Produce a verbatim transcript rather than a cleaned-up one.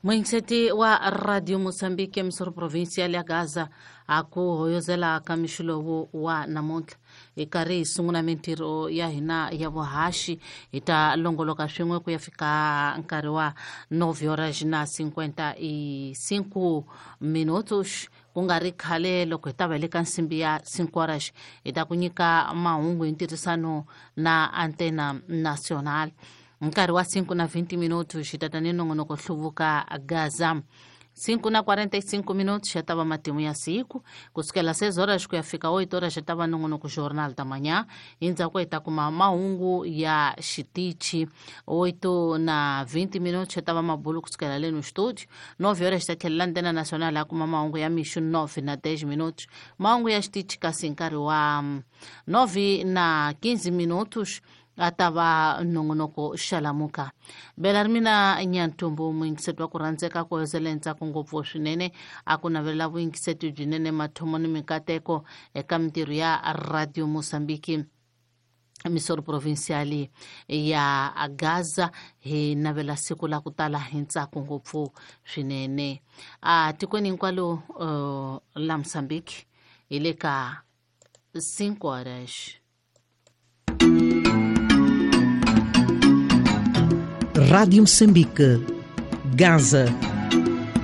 Muingiseti wa Radio Mozambique emisoro provincial ya Gaza a ku hoyozela ka mixo lowu wa namuntlha hi karhi hi sungula mintirho ya hina ya vuhaxi hi ta longoloka swin'we ku ya fika nkarhi wa nove horas na cinquenta e cinco minutos ku nga ri khale loko hi ta va hi le ka nsimbi ya cinco horas hi ta ku nyika mahungu hi ntirhisano na Antena Nacional. Nkarhi wa cinco na vinte minutos hi tata ni nongonoko hluvuka Gaza. Cinco na quarenta e cinco minutos ya tava matimu ya siku kusukela seis horas ku ya fika oito horas ya tava nongonoko jornal da manhã. Endzhaku hi ta kuma mahungu ya xitichi. Oito na vinte minutos ya tava mabulu kusukela le no estúdio. Nove horas ta tlhelela Antena Nacional ya kuma mahungu ya mixo nove na dez minutos. Mahungu ya xitichi kasi nkarhi wa nove na quinze minutos a ta va nongonoko xalamuka. Belarmina Nyantumbu muyingiseti wa ku rhandzeka ku hoyozela ntsako ngopfu swinene a ku navelela vuyingiseti byinene mathomo ni mikateko eka mintirho ya Radio Mozambique emisoro provincial ya Gaza. Hi navela siku la ku tala hi ntsako ngopfu swinene a tikweni hinkwalo uh, la Mozambique hi le ka cinco horas. Rádio Moçambique, Gaza.